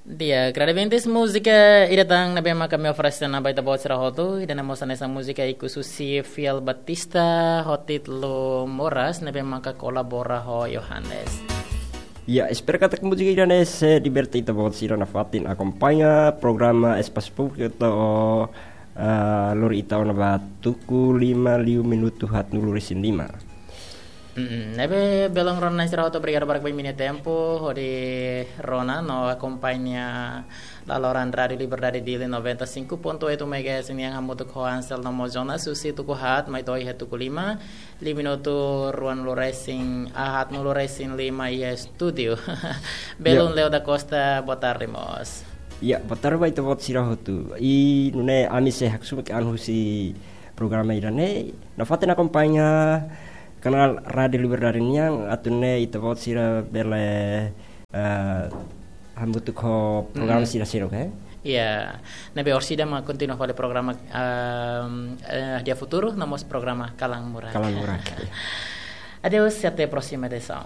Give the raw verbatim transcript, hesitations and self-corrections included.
Di'ak, Radiventes, múzika ida tan ne'ebé maka ami oferese ona ba ita-boot sira hotu, ida-ne'e mós hanesan múzika ikus husi Fiel Batista ho títulu Moras, ne'ebé maka kolabora ho Johannes. Ya, espera katak múzika ida-ne'e sei liberta ita-boot sira nafatin akompaña programa Espasu Públiku to'o, ah, lori ita ona ba tuku lima liu minutu haatnulu resin lima. Mm, ne'ebé belun rona sira hotu, obrigadu barak ba imi-nia tempu hodi rona no akompaña laloran Rádiu Liberdade Dili noventa e cinco ponto oito megahertz nian hamutuk ho Ansel no mós Jonas husi tuku haat mai to'o iha tuku lima, liu minutu ruanulu resin, ah, haatnulu resin lima iha estúdiu. Belun Ya. Leo da Costa, boa tarde mós. Ya, boa tarde ba ita-boot sira hotu. I nune'e ami sei haksolok an husi programa ida-ne'e, nafatin akompaña kanál Rádiu Liberdade nian, atu nune'e ita-boot sira bele, eh, hamutuk ho programa Mm. sira seluk, eh? Ya, ne'ebé orsida mak kontinua fali programa, ehm, eh, Dia Futuru, no mós programa Kalan Murak. Kalan Murak, ya. Adeus, até a próxima edição.